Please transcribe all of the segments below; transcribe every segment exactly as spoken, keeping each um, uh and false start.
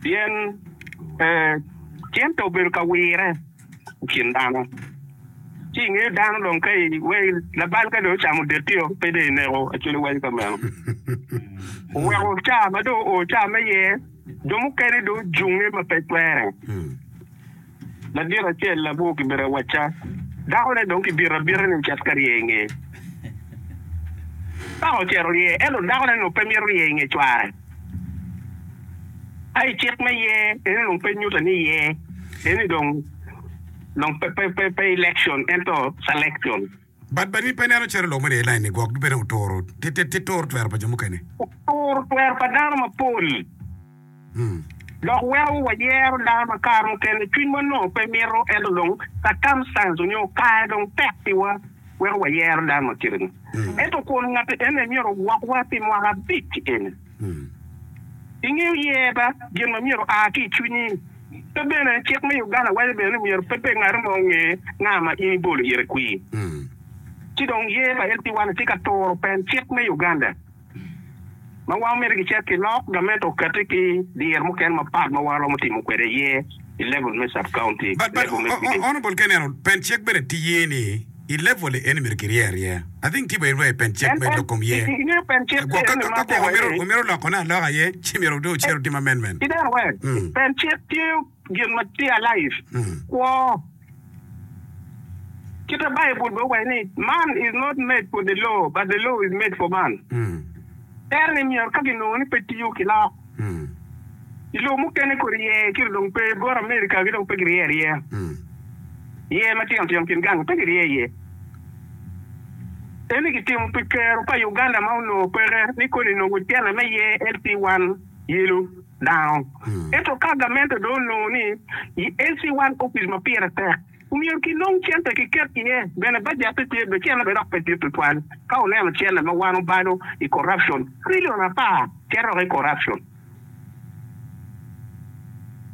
Pien eh, cente obedo ka wire i kin dano. Ci ingeyo dano dong ka i we labal ka dong ocamo detio pe dong ineko actually waco ka meno. Oweko ca ma dong oo ca me ye jo mukene dong ojunge ma pe twere. Ladit acel labwor kibedo awacca dakone dong kibito abita ni ocit ka rye i nge. Paka ocito rye ento dakone onongo pe mito rye i nge cware. Ka i cik me ye eni dong pe nyuto ni ye eni dong dong pe pe pe pe election ento selection. But but in pe ineno calo lok me rye line ni gwok bene oturo ti ti ti turo twero pa jo mukene. Oturo twero pa dano mapol. Dok weko wayero dano ma kare mukene cwinywa nongo pe mito ento dong circumstance onyo kare dong tek piwa weko wayero dano ma kite ni. Ento kun ngat ene myero ogwokwa pi mwaka abic eni. Ingeyo ye ba gin ma myero oa ki i cwinyi. Pe bene cik me Uganda waco bene ni myero pe pe ngat mo onge nga ma in ibolo ire kwir. Ci dong ye pa L P one tye ka turo pen cik me Uganda ma wan omyero kicit kilok gamente okati ki diro mukene mapat ma wan romo timo kwede ye i level me sub county, But but level me village. honorable ka ineno pen cik bene tye ye ni i level eni myero kirye aryeya. I think tye bene rweyo pen cik En me en lok kom ye. ingeyo pen cik Gwok ka eni ma ka gwok atemo omyero ni omyero lokone aloka aye ci myero dong ocit otim amendment. ineno we Mm. pen cik tye gin ma tye alive Mm. kwo. Kite Baibul bene owaco ni man is not made for the law but the law is made for man. Mm. Tere ni myero ka ginongo ni pe tiyo kilok. Mm. I lobo mukene kodi yer kiti dong pe bot America gi dong pe girye aryeya. Mm. Yer matino tino kin gang pe girye iye. Eni kitimo pi kero pa Uganda ma onongo peke ni koni nongo cene me yer L C one yelo dano. Mm. Ento ka gamente dong onongo ni i L C one office ma pire tek omyero kinong cente kiket iye bene budget tye be cene bene dok pe dit tutwal ka oneno cene ma wan obalo i corruption trillion apar cito i corruption.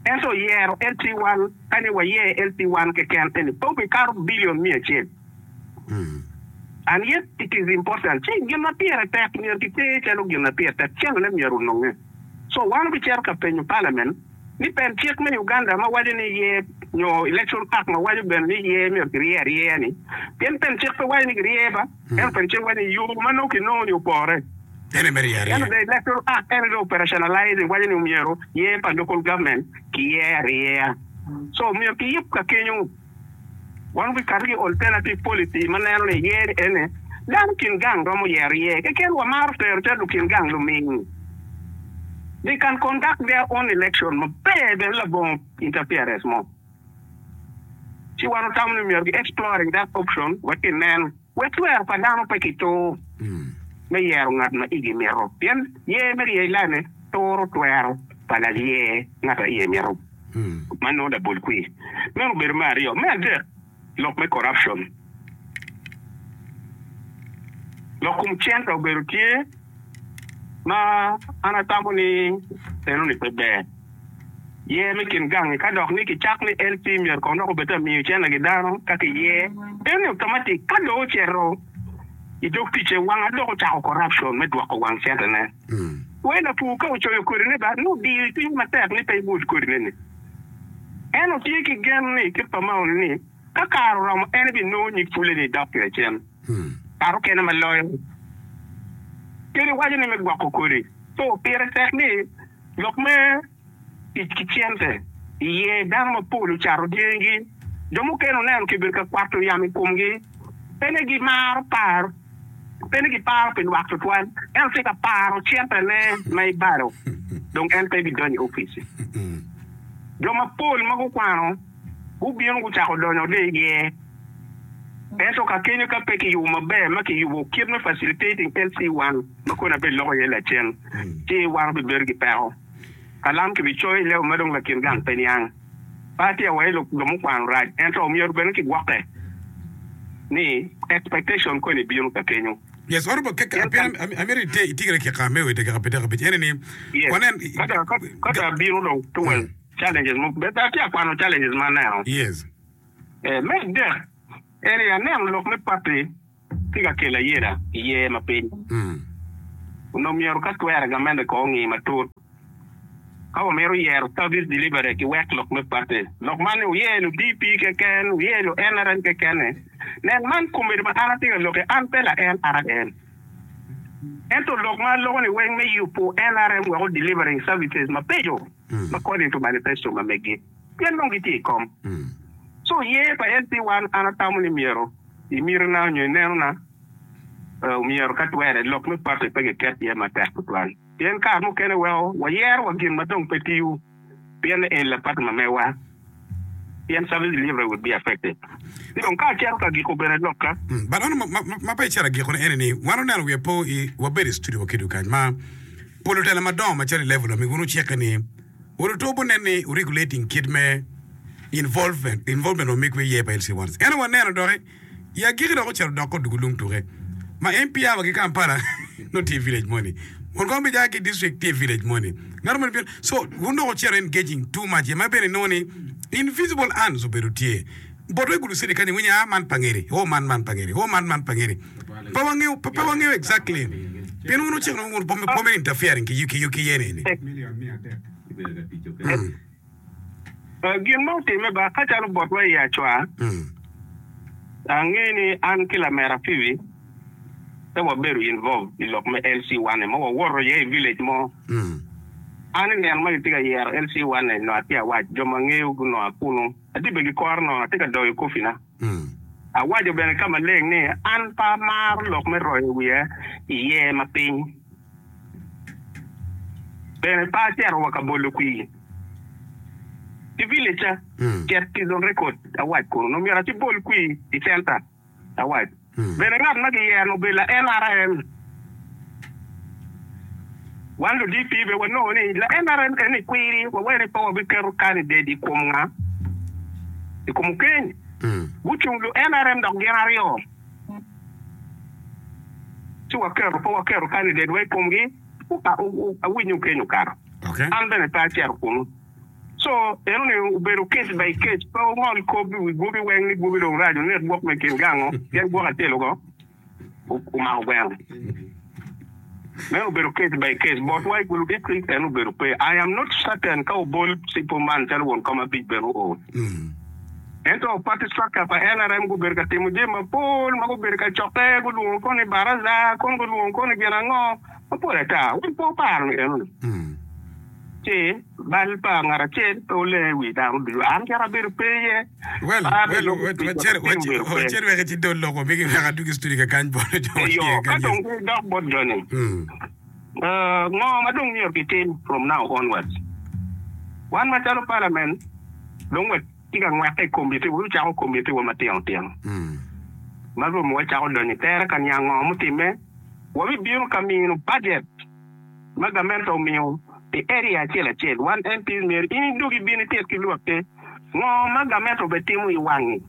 Ento yero L C one ka ni wayer L C one keken eni pe obikato billion miya acel. Mm. And yet it is important. Ci gin ma pire tek myero kiter calo gin ma pire tek cenone myero ononge. So wan obicito ka penyo parliament ni pen cik me Uganda ma waco ni ye nyo election act ma waco bene ni ye myero kirye aryeya ni pien pen cik pe waco ni kirye ba ento pen cik waco ni yo ma nongo kinongo ni opore. Ene me rye Ento aryeya. the electoral act ene dong operationalizing waco ni omyero ye pa local government kiye aryeya. So myero kiyub ka kenyo wan obikato ki alternative policy ma neno ni ye ni ene dano kin gang romo yero ye keken wamaro tero calo lukin gang luming. They can conduct their own election maber bene labongo interference mo. Ci wan otamo ni myero ki exploring that option wek kinen wek twero pa dano pe kitur Mm. me yero ngat ma igi mito pien ye me rye lane turo twero pa laye ngat a iye mito Mm. ma nongo labol kwir. Meno obedo me aryo. Me adek lok me corruption. Lok kom cente obedo tye ma an atamo ni eno ni pe ber. Ye me kin gangi ka dok ni kicak ni L C myero kong dok obed ta miyo cente ki dano ka kiye eno ni automatic ka dong ocito i dog ticce wanga dok ocako corruption me dwoko wang centene. Mm. We lapur ka ocoyo kodine ba nongo odiyo cwinye matek ni pe ibul kodine ni. En otye ki gen ni kit pa maoni ni ka kare oromo en ebinongo nyig pule ni dok kire cen. Mm. Kare okene ma loyo. Kadi waco ni me gwoko kodi. So pire tek ni lok me tic ki cente iye dano mapol ocato dyangi. Jo mukene oneno kibedo ka kwato yamo i komgi. Pe ni gimaro par, pe ni giparo pi lwak tutwal. Ento tye ka paro centene ma ibalo dong en pe bidonyo i opic. Mm. Jo mapol ma gukwano gubino gucako donyo de iye. Ento ka kenyo ka pe kiyubo maber ma kiyubo kit me facilitating L C one ma koni abed loko iye lacen Mm. ci wan obibedo ki peko. Kalam kibicoyo i level ma dong lakin gang pe niang. Pe atye awaci jo mukwano rac ento omyero bene kigwokke ni expectation koni bino ka kenyo. Yes, honorable kek Pien ka amyero ite itigere kika me wete kika pite kabic ene ni yes wanen ka da ka ka da bino dong towards Mm. challenges mo be atye akwano challenges ma aneno. Yes. Eh, me adek eni aneno lok me party tye ka kelo ayela iye ma piny. Mm. Onongo myero ka twere gamente kong ongi matut. Ka wamito yero service delivery ki wek lok me party. Lok man ni wuye lu D P keken, wuye lu N R M kekene. Nen man komedo ma an atye ka lokke, an pe la N R M. Ento lok ma aloko ni weng me yubo N R M weko delivering services mabeco according to manifesto ma megi. Pien dong gitye i kom. So ye pa L C one an atamo ni myero i mitina nyo inenona myero ka twere lok me party pe giket iye matek tutwal. Pien kare mukene weko wayero wa gin ma dong pe tiyo pien en la party ma mewa. Pien service delivery would be affected. Ci dong ka acito ka giko bene lokka. But ono ma pe icito agikone eni ni wan oneno wiye po i wabedo i studio wakedo kany ma pol otelo madongo macalo i level ami wun ucikke ni wun otobo nen ni regulating kit me involvement involvement wa migwe iye pa L C one eno waneno doki i agiki dok ocito dok odugo lung tuke ma M P awa ki Kampala no tye i village moni wun kong bija ki district tye i village moni ngato moni so wun dok ocito engaging too much ma bene inongo ni invisible hands obedo tye botwa i Gulu City kany iwinyo ah man pangeri o man man pangeri o man man pangeri pe wangeyo pe wangeyo exactly pien wun ociko wun pomere interfering ki ki ki yene ni. Gin ma otimme ba ka calo botwa i acwa ange ni an ki lamera Phoebe pe wabedo involved i lok me L C one ma wawoto iye i village mo. An i neno ma gitye ka yero L C one no atye awac jo ma ngeyo gunongo akunu atye be gikoro nono atye ka doyo kofina. Awaco bene ka maleng ni an pe amaro lok me royo wiya iye ma piny. Bene pe acito wa ka bolo kwir. I village ca cet is on record awac kunu no myero acibol kwir i center awac. Bene ngat ma giyero obedo la N R M. Wan lu D P be wanongo ni la N R M eni kwiri wawene pe wabiketo candidate i kom nga i kom Okeny. Gucung lu N R M dok gin aryo. Ci waketo pe waketo candidate wa i komgi awinyo Okeny okato. An bene pe acito kunu. So eno ni obedo case by case pe ongol kop i wi gwobi weng ni gwobi dong rac onek gwok me kin gango pien gwok acel ogo omako gweno. Meno obedo case by case botwa i Gulu district en obedo pe. I am not certain ka obol cipo man calo won kom abic bene oo. Ento party structure pa N R M gubedo ka timo jami mapol ma gubedo ka cokke gulwongo koni baraza kono gulwongo koni gin ango mapol ata wan pe oparo ni eno ni. Ci bal pa ngat acel pe oleng i wi dano ducu an kara abedo pe iye. Well, well, wacel wek ci dol loko migi wek adugi studio ka kany bot jo ma Eyo, tye ka kany. dong gidok bot joni ngo ma dong myero gitim from now onwards. Wan macalo parliament dong watye ka ngweke i committee wacako committee wa matino tino ma romo wacako donyo i tere ka niang ngo mutimme wabibino ka mino budget ma gamente omiyo pi area acel acel wan M Ps myero in idog ibin itit ki lwakke ngo ma gamente obetimo i wangi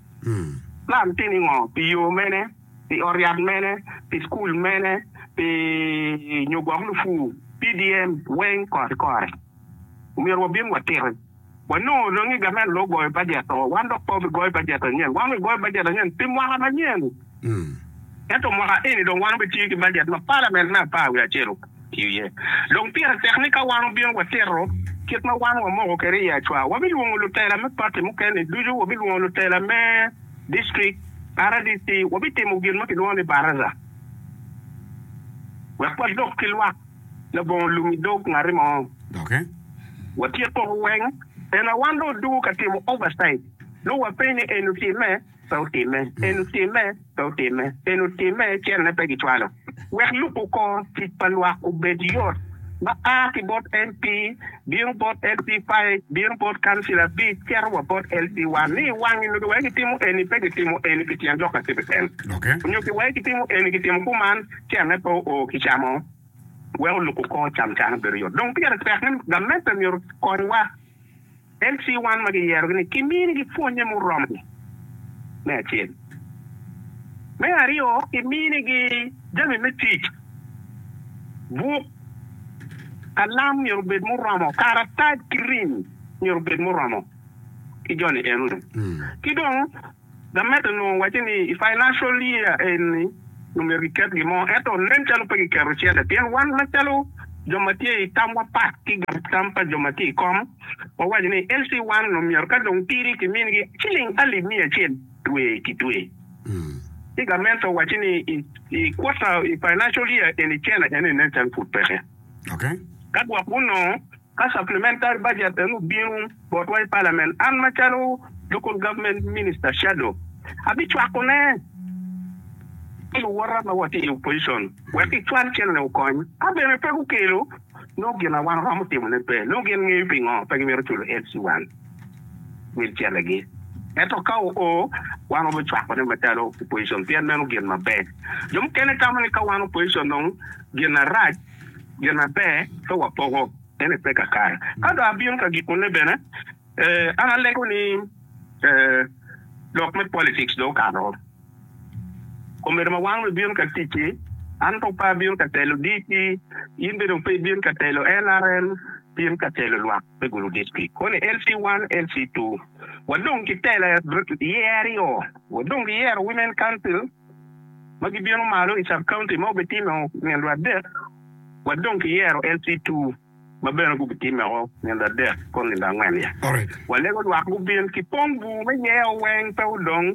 plan tye ni ngo pi yo mene pi ot yat mene pi school mene pi nyo gwok lupu P D M weng kore kore myero wabin watiti wanongo dong ni gamente dong ogoyo budget o wan dok pe obigoyo budget anyen wan obigoyo budget anyen pi mwaka manyen ento mwaka eni dong wan obitiyo ki budget ma parliament me apar wiye acel otiyo iye dong pire tek ni ka wan obino watito kit ma wan wamoko kwede i acwa wabilwongo lutela me party mukene ducu wabilwongo lutela me district R D C wabitimo gin ma kilwongo ni baraza wek walok ki lwak labongo lum i dog ngati mo. Okay. Watyeko weng ena wan dong odugo ka timo oversight nongo wapenyo ni en otimme pe otimme en otimme pe otimme en otimme cene pe gicwalo wek lubo kor tic pa lwak obed yot ma a ki bot M P bino bot L C five bino bot council abic cito wa bot L C one ni wangi nyo kiwai gitimo eni pe gitimo eni pi tyen lok acel keken. Okay. Nyo kiwai gitimo eni gitimo kuman cene pe oo kicamo weko lubo kor camcan obedo yot dong pire tek ni gamente myero konywa L C one ma giyerogi ni kiminigi pwonye muromo me acel me aryo kiminigi jami me tic buk kalam myero obed muromo karatac ki rim myero obed muromo ki joni enoni ki dong gamente onongo waco ni i financial year eni myero giket gimo ento nen calo pe giketo cente pien wan macalo Jo ma tye i tamwa pat ki tam pa jo ma tye i kom, wawaco ni L C one onongo myero ka dong tidi kiminigi ciling alip miya acel dwe ki dwe. Ci gamente owaco ni i, i quarter, i financial year eni cene eni nen calo pud peke. Okay. Ka gwok gunongo ka supplementary budget eno obino botwa i parliament, an macalo local government minister shadow abicwakone ki luwota ma watye i opposition wek kicwal cene okony. Ka bene pe gukelo, nongo gin na wan romo timone pe. Nongo gin ngeyo pingo pe gimito culo L C one wil celegi. Ento ka oo, wan wabicwakone macalo opposition pien meno gin maber. Jo mukene tamo ni ka wan opposition dong gin arac, gin maber pe wapoko, ene pe kakare. Ka dong abino ka gikone bene, eh, an alego ni eh, lok me politics dong okato. Omedo ma wan wabino ka ticci, an to pe abino ka telo D P, in bene pe ibino ka telo N R M, bino ka telo lwak me Gulu district. Koni L C one, L C two. Wadong ki tela yer aryo, wadong ki yero Women Council ma gibino malo i sub county ma obitimo nino adek, wadong ki yero L C two ma bene gubitimo nino adek kon nino angwen ya. Alright. Walego lwak gubin ki pong bur me yeo weng pe odong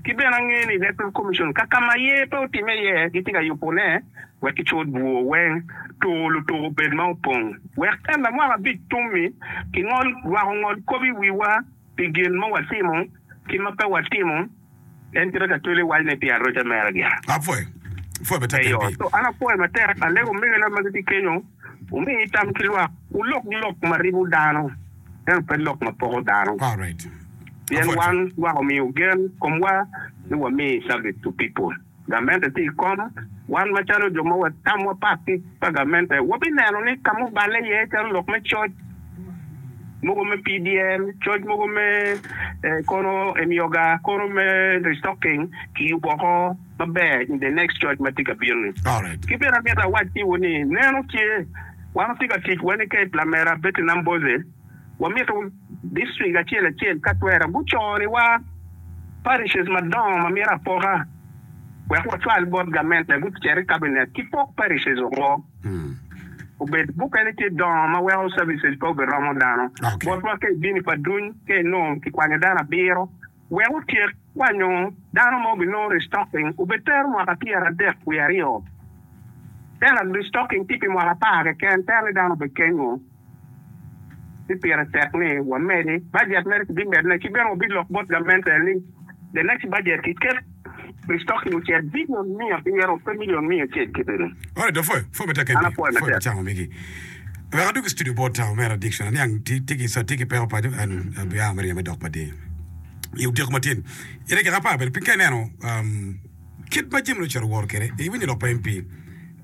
ki bene ange ni Electoral Commission ka kama ye pe otime ye gitye ka yubone wek kicul bur weng tur lutuko obed ma opong wek en mwaka abic tummi kingol lwak ongol kop i wiwa pi gin ma watimo ki ma pe watimo en kite ka twele waco ni pi aroca mere gia. Apwoyo. Apwoyo matek. Eyo. M P. So an apwoyo matek alego omegina ma gitye kenyo umi tam ki lwak ulok lok ma ribo dano ento pe lok ma poko dano. Alright. Pien Apwoyo. Wan lwak omiyo gen komwa ni wami service to people. Gamente tye i kom wan macalo jo ma watamwa pat ki pa gamente wabineno ni ka muballe iye calo lok me coc mogo me P D M, coc mogo me eh, kono emyoga kono me restocking kiyubo oko maber in the next coc ma tye ka bino ni. Alright. Ki bene amito awac tiwu ni neno tye wan watye ka tic wani ka lamera Betty Namboze wamito district acel acel ka twera guconiwa parishes madongo ma mito apoka wek wacwal bot gamente gucer i cabinet ki pok parishes oko Mm. obed mukene tye dongo ma weko services pe obiromo dano. Okay. Botwa ka ibino pa duny ka inongo kikwanyo dano abiro wek otyek kwanyo dano ma obinongo restocking obed tero mwaka pyera adek wiye aryo tena restocking tye pi mwaka apar keken tero ni dano obed kenyo ci pire tek ni wamedi budget mere kibimedone ki bene wabilok bot gamente ni the next budget kiket restocking ocit billion mia abiro pe million mia acel kitene. Alright, apwoyo. Apwoyo matek. An M P. apwoyo Apwoyo matek. Cango migi. Wek adug i studio bot uh, omera Dickson. Aniang ti ti ki sa ti ki peko paco an abia me ryeme dok pa di. I odyeko matin. I dakika apar bene piny ka ineno um, kit ma jami ocito woro kwede iwinyo lok pa M P.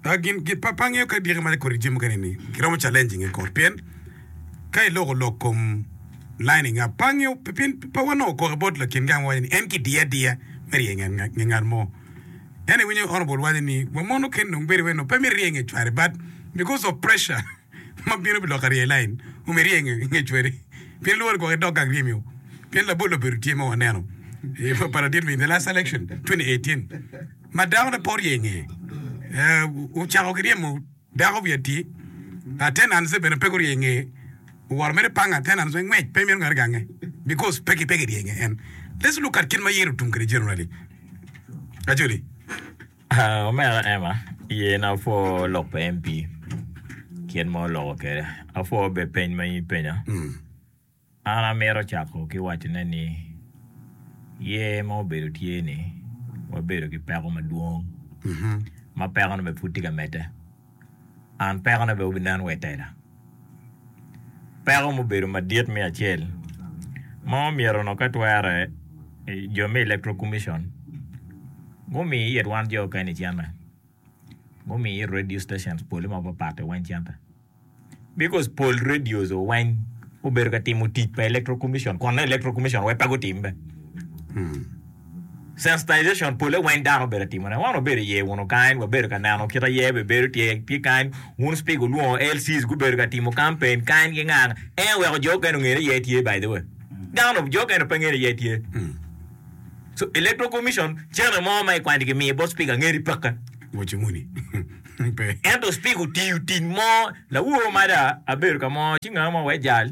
Uh, gin gin pa pa angeyo ka dyeke ma kodi jami mukene ni kiromo challenging i court pien ka iloko lok kom lining up pa angeyo pien pa wanongo koke bot lakin gang waco ni en kidiye adiya me rye nge ngat mo en iwinyo honorable waco ni wamono ken dong bedo weno pe mi rye nge cware, but because of pressure ma bino pi lok arye line omi rye nge cwari pien luwore gwok idok gang ryemio pien labol obedo tye ma waneno eh, pa ladit in the last election twenty eighteen ma dako ne pe orye nge. Eh, ocako ki ryemo dako wiye ati attendance bene pe gurye nge oworo mere panga attendance ngwec pe mito ngati gange because pe ki pe kirye nge en. Let's look at kit ma yero tum kede generally actually. Ah, omera Emma, ye na apwo lok pa M P kit ma oloko kede. Apwo be peny ma in penya. mm. An amito cako ki wacone ni ye ma obedo tye ni wabedo ki peko madwong mm-hmm. ma peko ne be pud tye ka medde. An peko ne be obinen wa i tela. Peko mubedo madit me acel ma omyero no ka twere eh, jo me Electoral Commission gumi it wan jo keni cente gumi it radio stations pole mapapat weng cente because pol radios weng obedo ka timo tic pa Electoral Commission kon Electoral Commission we pe gutim be mm. sensitization pole weng dano obedo timone wan wabedo iye wunu kany wabedo ka neno kita ye be bedo tye tye kany wun speak olwongo L Cs gubedo ka timo campaign kany ki nga en weko jo kene ong'e ni ye tye. By the way, dano jo kene pe ng'e ni ye tye. Mm. So Electoral Commission cene mo ma ikwanyo kimiyo bot speaker ng'e ni peke. Waco muni. Pe. Ento speaker otiyo tic mo lawor mada abedo ka mo ci nga mo wek jal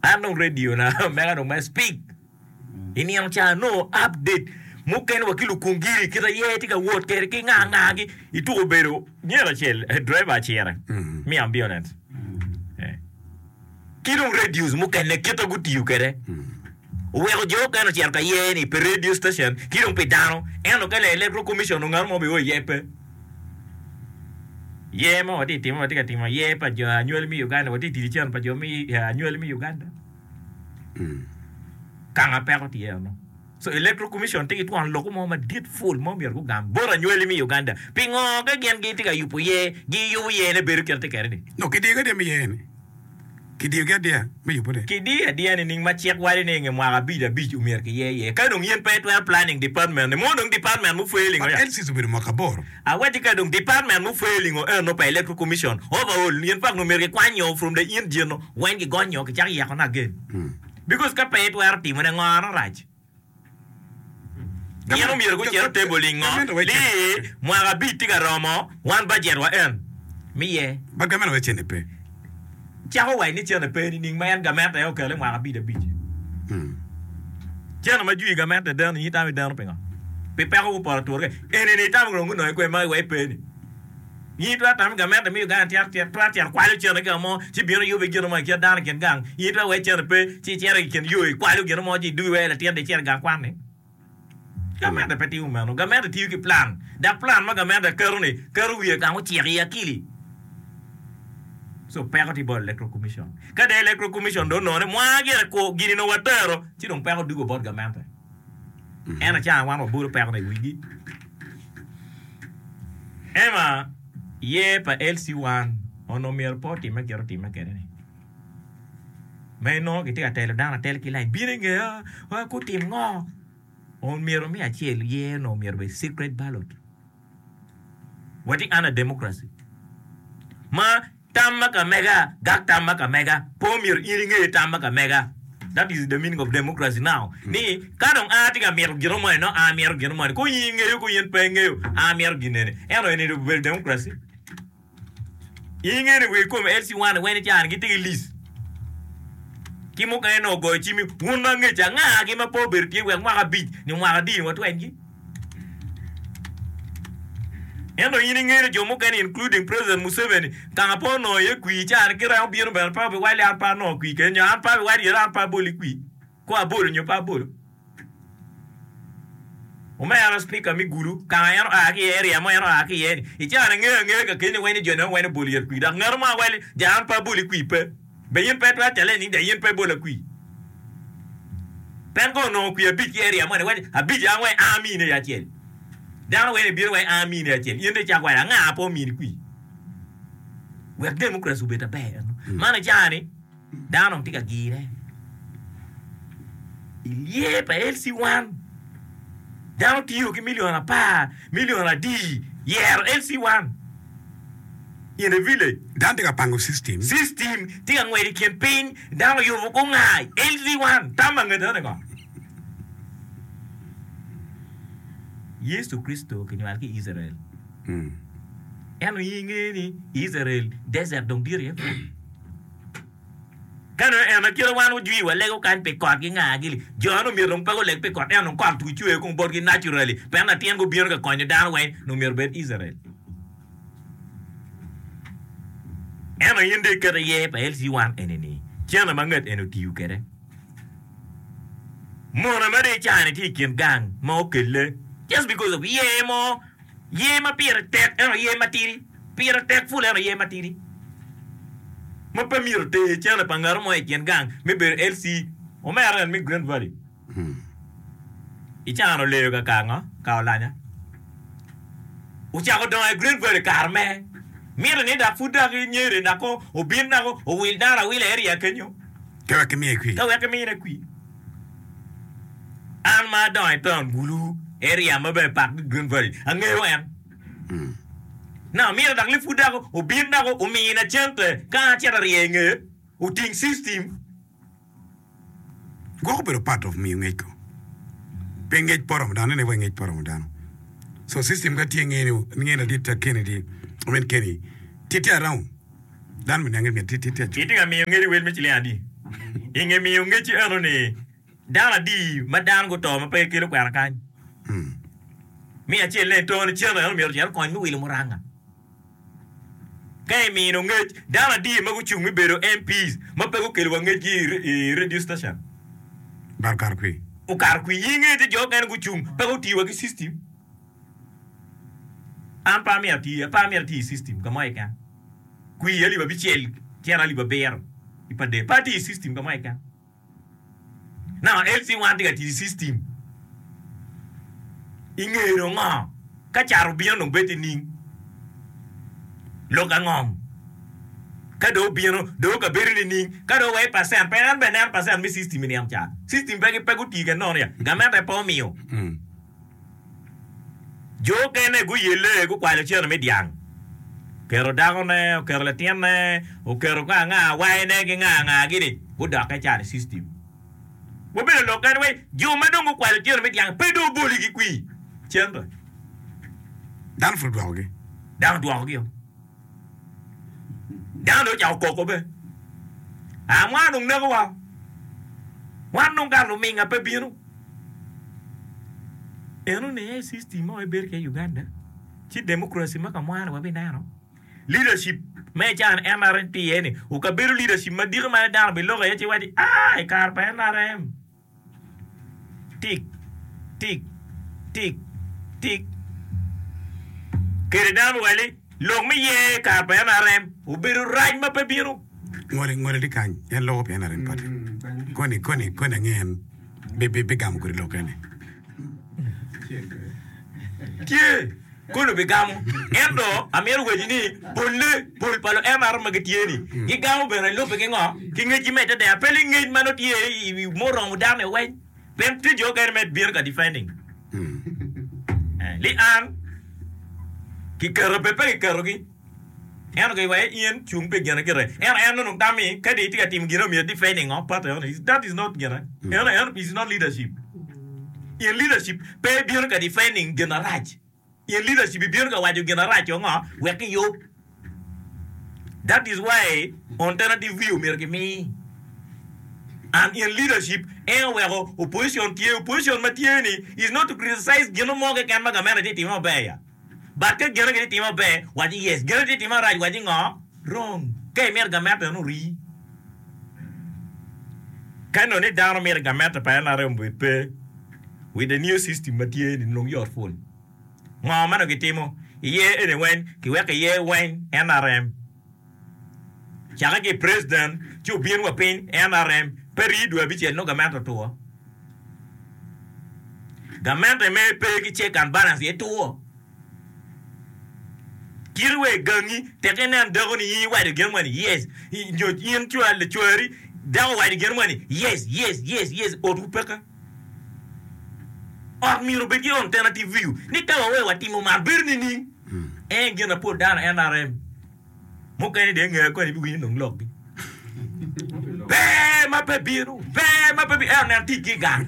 an dong radio na mega dong me speak i nino ca nongo update mukene wa ki lukungiri kit aye tye ka wot kwede ki nga nga gi ituko bedo myero acel driver acire me ambulance Eh. Ki dong radios mukene kite gutiyo kwede oweko jo okene ocito ka ye ni pi radio station ki dong pi dano ento ka electoral commission ongato mo bio iye pe. Yer ma watye ka timo watye ka timo yer pa jo anywali me Uganda watye ka tic ki cente pa jo me anywali me Uganda kanga peko tye eno. So electoral commission tye ki twon loko mo madit full ma myero gugam bot anywali me Uganda pingo ka gin gitye ka yubo yer giyubo yer ne bedo kite tye kwede ni. No kidiyo ki adiya me yer ni. Kidiyo ki adiya me yubo ne. Kidiyo adiya nining ma cik waco ni inge mwaka abic abic omyero kiyer iye ka dong in pe itwero planning department ni mo dong department mu failing But oya. L C obedo mwaka aboro. Awacci ka dong department mu failing o eno pa electoral commission overall in fact omyero kikwanyo from the engine weng kigonyo kicako yeko ne again because ka pe itwero timo ne ngo ano rac. Gin omyero gucit i table i ngo ni mwaka abic tye ka romo wan budget wa en miye. But gamente wek cente pe. Cako waco ni cente pe nining ma en gamente aye okele mwaka abic abic. Cente ma jwi gamente deno in itamo ideno pingo? Pi peko gupoto atura keken. Eni ni itamo dong gunongo kwe ma iwec pe ni. In itwero tamo ni gamente me Uganda twero cito kwalo cente ki ka mo ci bino yubo ki gin mo i kit dano i kin gang. In itwero wek cente pe ci icito i kin yo ikwalo gin mo ci idugi wek latin dong icito i gang kwan ni. Gamente pe timo meno. Gamente tiyo ki plan. Dok plan ma gamente keto ni keto wiye kang ociko i akili. So peko tye bot Electoral Commission. Ka dong Electoral Commission dong onongo ni mwaa gire kur gini nongo watero ci dong peko dugo bot gamente. Ento ca wan wabolo peko-ni i wigi. Ema, yer pa L C one onongo myero pe otimme kit otimme kwede-ni. Ma inongo kitye ka telo dano atela ki lain, bino i ngeya, gutim ngo? Omyero me acel yer onongo myero obed secret ballot. Watye under democracy ma tam ma ka mega gak tam ma ka mega pe omyero in inge tam ma ka mega. That is the meaning of democracy now. Ni ka dong a tye ka mito gino moni nongo a mito gino moni ko in ingeyo ko in pe ingeyo a mito gin eni. Ento eni obedo democracy. Inge ni wer kom L C one weng ni cani gitye ki list ki mukene nongo ogoyo cim wun ma ngec anga gi ma pe obedo tye wek mwaka abic nyo mwaka adi ni watweny gi. Ento in inge ni jo mukene including President Museveni kanga pe onongo iye kwir cani ki remo bino bene pe obiwaco ni an pe anongo kwir kene nyo an pe abiwaco yene an pe aboli kwir ko abolo nyo pe abolo. Omera speaker me Gulu kanga en oa ki iye area mo en oa ki iye ni i caa ni ngeyo angeya ka keni weng ni joni weng obolo yet kwir dok ngat mo awali ja an pe aboli kwir pe be in pe itwero challenge ni ja in pe ibola kwir pen ka onongo kwir abic ki area mo ni waci abic an weng an amini aye acel dano weng ibino weng an amini acel in dong icako waco anga pe omini kwir wek democracy obed aber eno man i caa ni Dano dong tye ka gire i lye pa L C one. Dano tiyo ki milion apar, milion adi yero L C one in a village. Dano tye ka pango system. System tye ka ngwec i kin piny, dano oyubo gunga L C one. Tam ma ngete ni ngo? Yecu Kricito kinywalo ki i Icrael. Ento in ingeyo ni i Icrael desert dong dit iye pwod. Ka nongo en akite wan ojwi walego kany pi kot gi nga gili, jo eno myero dong pe guleg pi kot ento dong kot tugi cwer kong botgi naturally pien latin gubino ka konyo dano weng nongo myero obed Israel. Ento in dong iketo iye pa L C one eni ni cene ma ngat eni otiyo kwede. Mone ma dong icani tye i kin gang ma okelle just because of yer mo Yer ma pire tek ento yer matidi, pire tek pul ento yer matidi. Ma pe myero oter cene pa ngat mo i kin gang me bedo L C omera en me Green Valley. Icano oleyo ka ka ngo? Ka olanya. Ocako dongo i Green Valley kare me mito ni dok pud dok inyeri dok obin dok owil dano awila i area kenyo. Ka wek kimiye kwir. Ka wek kimine kwir. An ma adongo i taun Gulu, area ma bene pak ki Green Valley, angeyo en. Now mito dok lipud dok obin dok omina cente ka acito arye i ngeye, oting system. Gwok obedo part of miyo ngec ko. Pe ngec pe oromo dano, nene wai ngec pe oromo dano. So system ka tye nge ni nge ladit Kennedy Omin Kenny, tye tye around. Dano me niange myero tye tye tye acu. Itye ka miyo ngec i wel me ciling adi? I nge miyo ngec eno ni dano adi ma dano guto ma pe gikelo kwena kany? Me acel ne tone cene eno myero ocit okony me wilo muranga. Ka imino ngec, dano adi ma gucung me bedo M Ps ma pe gukelo wa ngecgi i radio station? Bar okato kwi. Okato kwi. In ingeyo ni jo okene gucung pe gutiyo wa ki system. An pe amito ati, pe amito ati i system ka mo keken. Kwi alip abicel cito alip abiro i pa day. Pe atiyo i system ka mo keken. Now L C one tye ka tic i system. I nge dong ngo? Ka cat obino dong bed nining? Lok angom? Ka dong obino dong kabedo nining? Ka dong wai percent pe en bene neno percent me system i nino ca. System pe pe gutii kede nono ya. Gamente pe omiyo. Jo okene guyelle gukwalo cene me dyang. Oketo dakone, oketo latinne, oketo ka anga wayne ki nga nga gini gudokke calo i system. Wabedo lok kene wai jo ma dong gukwalo cene me dyang pe dong oboligi kwi cente. Dano pud odwokogi. Dano odwokogi o. Dano dong ocako koko be. A mwan dong nekowa. Wan dong kare luminga pe bino. Eno ni aye system ma wabedo kwede i Uganda. Ci democracy ma ka mwane wabineno. Leadership me can N R M tye iye ni okabedo leadership madito ma dano biloko iye ci waci aa i kare pa N R M tik tik tik tik kede dano wali lok me ye kare pa N R M obedo rac ma pe bino. Ngole ngole di kany en loko pi N R M party. Koni koni koni ange en bi bi bigamo kodi lok eni. Tye kono bigamo ento amito waci ni polle pol pa lu N R M ma gitye ni gigamo bene lubbe ki ngo ki ngecgi me ite pe li ngec ma nongo tye i muromo dano i weny pien tye jo okene me bino ka defending li an kiketo be pe kiketogi ento ki waci in cung pi gine gire ento en nongo tami ka di itye ka timo gine myero defending ngo party eno that is not gine eno eno is not leadership. In leadership pe bino ka defending gin arac. In leadership ibino ka waco gin arac o ngo wek kiyub. That is why alternative view myero kimi. And in leadership en oweko opposition tye opposition ma tye ni is not to criticize gin mo keken ma gamente tye timo maber ya. But ka gine gitye timo maber waci yes, gine tye timo marac waci ngo wrong. Ka imito gamente eno ori. Ka nongo ni dano mito gamente pa N R M obed pe with the new system ma tye ni nongo yot pul. Ngo ma nongo gitimo iye eni weng kiweko iye weng N R M. Cake ki president ci obin wa piny N R M pe rii dwe abicel nongo gamente otwo. Gamente me pe ki check and balance iye two. Kiti wa i gangi tek inen dako ni in iwaco gin mo ni yes nyo in cwal cwari dako owaco gin mo ni yes yes yes yes otwu peke. Ot myero obed ki alternative view ni ka wawe watimo man bedo nining? En gin apol dano N R M mukene dong ingeyo koni ibiwinyo dong lokgi. Pe ma pe bino, pe ma pe bino, ento nen ticgi i gang.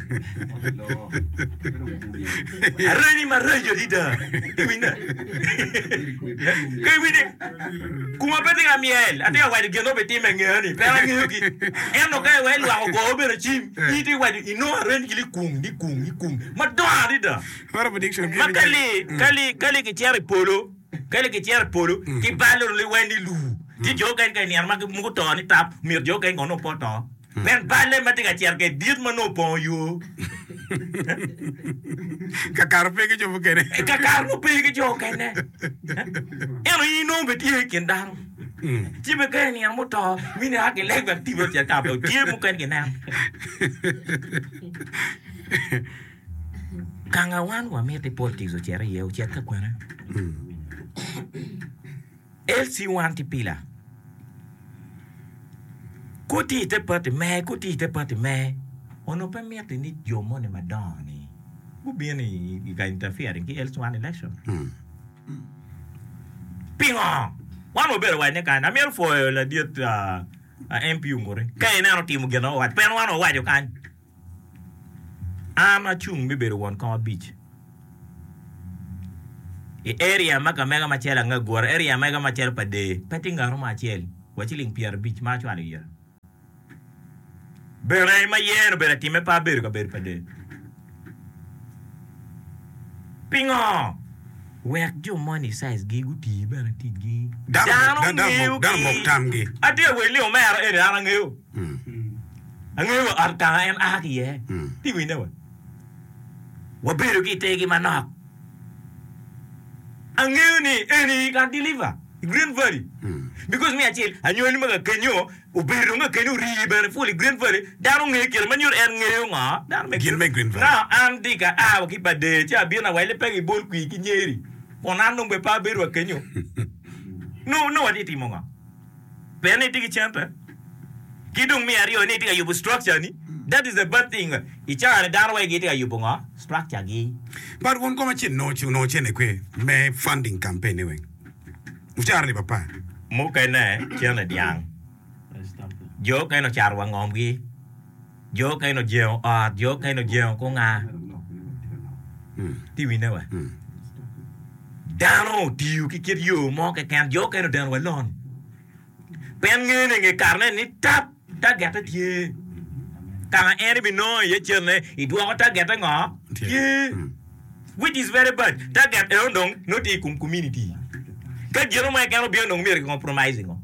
Areni maraco adada. Iwinyo? Ka iwinyo kuma pe tye ka myel, atye ka waco gin ma obitime i ngea-ni, pe angeyo-gi. Ento ka iweko lwak ogo bene cim, in itye ka waco inongo areni ki likung, likung, likung madongo adada. What a prediction. Ma ka li, ka li, ka li kicito i polo, ka li kicito i polo, kibalo liweny ni luu. Ci jo okene ka i nino ma mogo oto ni tap, myero jo okene kono pe oto. Pien balle ma tye ka cito kwede dit ma nongo opongo yo. Kakare pe ki jo mukene. Kakare nongo pe ki jo okene. Ento in inongo bene tye i kin dano. Ci bene ka i nino muto, mini a kileg wek tipo ocit ka po. Tye mukene kineno. Kanga wan wamiti politics ocit iye, ocit ka kwene. L C one tye pila. Kutye i te party me, kutye i te party me, onongo pe mitte ni jo moni madongo-ni gubin i ka interfering ki L C one election. Pingo? Wan wabedo waco ni kany, amito pwoyo ladit uh, M P Onguri. Ka ineno timo gin ma wawaco, pien wan wawaco kany. An acung me bedo won kom abic. I area ma ka mega macalo Angagura, area mega macalo Padee, pe tye ngat mo acel wa ciling pyerabic ma acwalo ira. Bene ma yen obedo atime pe abedo kabedo Padee. Pingo? Wek jo moni size gi guti bene ticgi. Dano Dano dano ngeyo mok dano mok gi. tamgi. Atye ka weli omera eni an angeyo. Angeyo wa ot kanga en a ki iye. Ti winne wa. Wabedo ki itegi manok. Angeyo ni eni can deliver i Green Valley. Because me acel anywali ma ka kenyo obedo dong ka kenyo orii bene full i Green Valley dano ngeyo kite ma nyuto en ngeyo ngo dano me Gin me Green Valley. Now an di ka a wa ki Padee ci abino awele pe gibol kwir ki nyeri kun an dong bene pe abedo wa kenyo. No no watye timo ngo? Pien ni itye ki cente ki dong me aryo ni itye ka yubo structure ni that is the bad thing i cawa ni dano wai gitye ka yubo ngo structure gi. But wun kom acel nongo onongo cene kwe me funding campaign ni weng. Wucaro alip apar. Mukene cene dyang, jo okene ocato wa ngomgi, jo okene ojengo ot, jo okene ojengo kunga. Ti winne wa. Dano otiyo ki kit yo mo keken, jo okene odeno wa lon. Pien ngene nge karene ni tap tagette tye. Kanga en ibinongo iye cene idwoko tagette ngo? Tye. Which is very bad. Target eno dong nongo tye i kom community. Ka gino mo keken obino dong myero ki compromise ngo.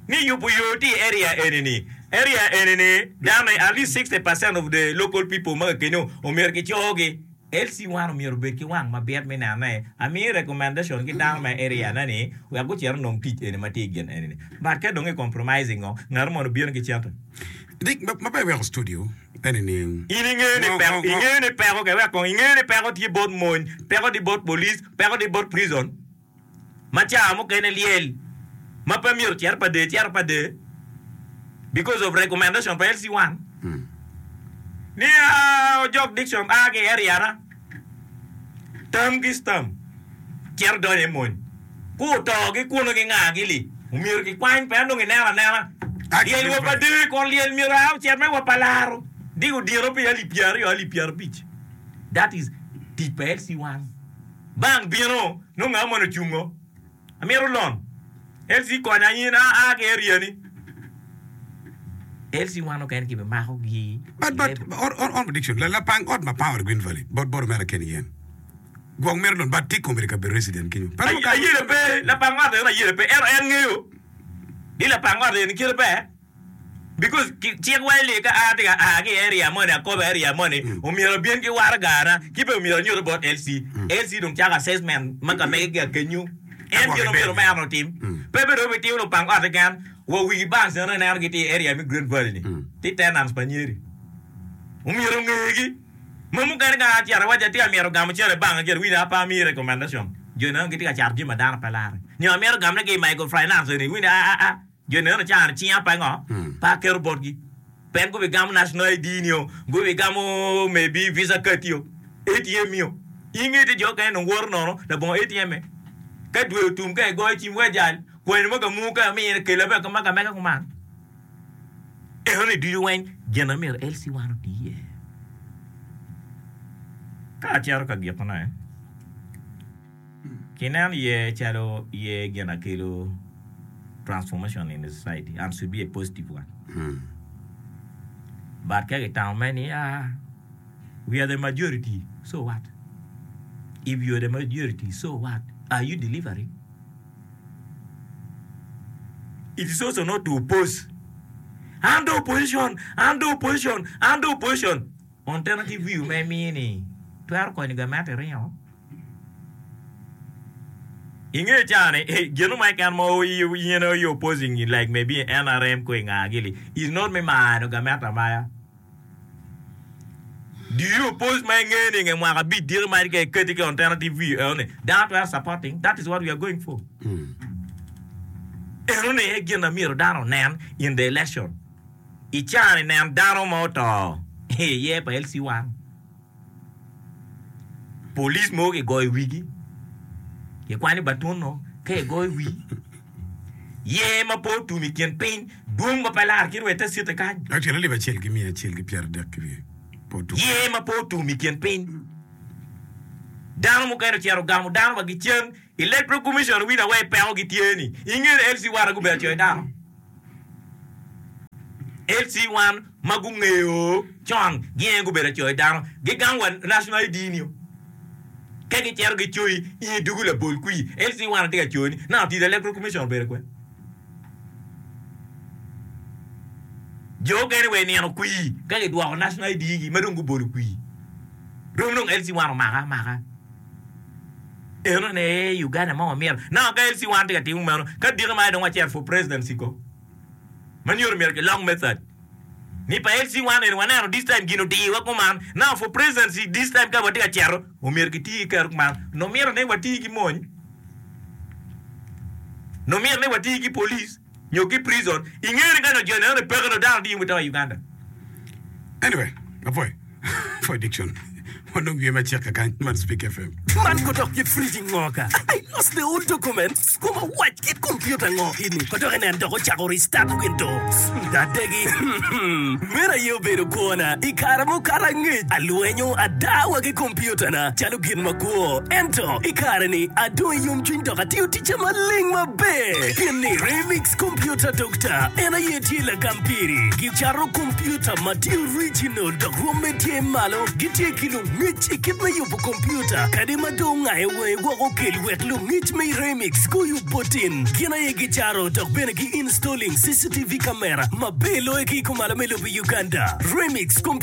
Ni yubo yo tye i area eni ni. Area eni ni dano at least sixty percent of the local people ma ka kenyo omyero ki cogi. L C one omyero obed ki wang mabit me nene. Amiyo recommendation ki dano ma i area na ni wek gucit onong tic eni ma tye i gin eni ni. But ka dong i compromising ngo, ngat mo obino ki cente. Dik ma pe iweko studio eni ni. In ingeyo ni Ngo peko, ngo ngo. ingeyo ni peko ke wek kong ingeyo ni peko tye bot mony, peko tye bot police, peko tye bot prison. Ma ca mukene lyel ma pe myero ocit pa dee cito pa dee because of recommendation pa L C one. Ni aa ojok Dickson a ki i area na tam ki stam cito donyo i mony. Ku oto ki kunu ki nga gi li omyero ki kwany pien dong ineno anena A ki lyel wa pa dee kon lyel myero a ocit me wa pa laro dik odyeno pi alip pyeraryo alip pyerabic. That is tic pa L C one. Bank bino nongo nga moni ocungo amito lon L C konya in a a ki area ni L C one okene ki bimako gi But but on on on prediction la lapang ot ma power Green Valley bot bot omera Ken Yen gwok mito lon but tye komedi kabedo resident kenyo. Pe romo kare Ayele pe lapang ot eno ayele pe ento en ngeyo ni lapang ot eni kite ber because cik waco ni ka a tye ka a ki i area moni akobo area moni omyero abin ki waragana ki bene omyero anyutte bot L C. L C dong cako assessment ma ka mege ki akenyo en gin omyero omera otim pe bene dong obitimo lupang ot keken wa wigi banks eno ineno gitye i area me Green Valley ni tye tenants pa nyeri omyero ongegi ma mukene ka acito awaco atye ka mito gamo cene i bank acel wina apa amiyi recommendation jo eno gitye ka cato jami ma dano pe laro nyo amito gamone ki i microfinance eni wina a a a Jo neno cano cinga pe ngo? Pe aketo botgi. Pien gubigamo national I D nio, gubigamo maybe visa card io, A T M io. Inge ti jo okene nong woto nono labongo A T M. Ka dwe otum ka igoyo cim wek jal, kwani mo ka mu ka amine kela bene ma ka mega kuman. Eno ni ducu weng gin ma myero L C one oti iye. Ka acito ka gikone, kineno iye calo iye gin akelo transformation in the society and should be a positive one. But ka gitamo me ni ah, we are the majority, so what? If you are the majority, so what? Are you delivering? It is also not to oppose. I'm the opposition, I'm the opposition, I'm the opposition. Alternative view me imiyo ni twero konyo gamente ringo. Inge cani, gin mo keken ma in you opposing like maybe N R M ko inga gili is not me mano gamente amaya. Do you oppose ma inge ni nge mwaka abic diki ma ke keti ke alternative view eno ni dano twero supporting that is what we are going for. Eno ni e gin na myero dano onen in the election. I cani nen dano ma oto iye pa L C one. Police mogo kigoyo wigi, kikwanyo batuno ka igoyo wi ye ma pe otum i kin piny dwong ma pe lar kit wa ite city kany. Actually alip acel ki miya acel ki pyeradek ki wiye pe otum. Ye ma pe otum i kin piny. Dano mukene ocito ogamo dano wa gicen Electoral Commission wina wa i peko gitye ni inge L C one gubedo coyo dano. L C one ma gungeyo con gin gubedo coyo dano gigamo wa National I D ni ka gicito gicoyi in idugo labol kwi L C one tye ka coyo ni na tic Electoral Commission obedo kwe. Jo okene wa inino kwi ka gidwoko National I D gi ma dong gubolo kwi. Rom dong L C one omaka amaka. Eno ne Uganda ma wamito. Now ka L C one tye ka timo meno, ka diki ma dong wacito for presidency ko. Ma nyuto myero gilok method. Ni pa L C one eni waneno this time gin odiwa kuman. Now for presidency this time ka watye ka cito, omyero giti ki kero kuman. No mito ni wati ki mony. No mito ni wati ki police nyo ki prison. Ingeri ka no jo neno ni peke no dano diyo wito i Uganda. Anyway, apoy. Apoy Dickson. Wanong wiye macek kakany man Speak F M. Man kodok kit fridge ngo ka. I lost the old documents. Kuma wac kit computer ngo ini. Kodok enen dok ocako restart Windows. Dadegi. Mera ye obedo kwona. I kare mukato angec. Alwenyo adawa ki computer na. Calo gin makwo. Ento i kare ni adong i yomcwiny dok atiyo ticca maleng maber. Pien ni Remix Computer Doctor en aye tye lagam piri. Gicato computer ma tye original dok rwomme tye malo. Gitye ki lungec i kit me yubo computer. Kadi ma dong ngayo wangi woko kel wek lungec me Remix guyub botin. Gin aye gicato dok bene gi installing C C T V camera maber loyo ki i kumalo me lobo Uganda. Remix Computer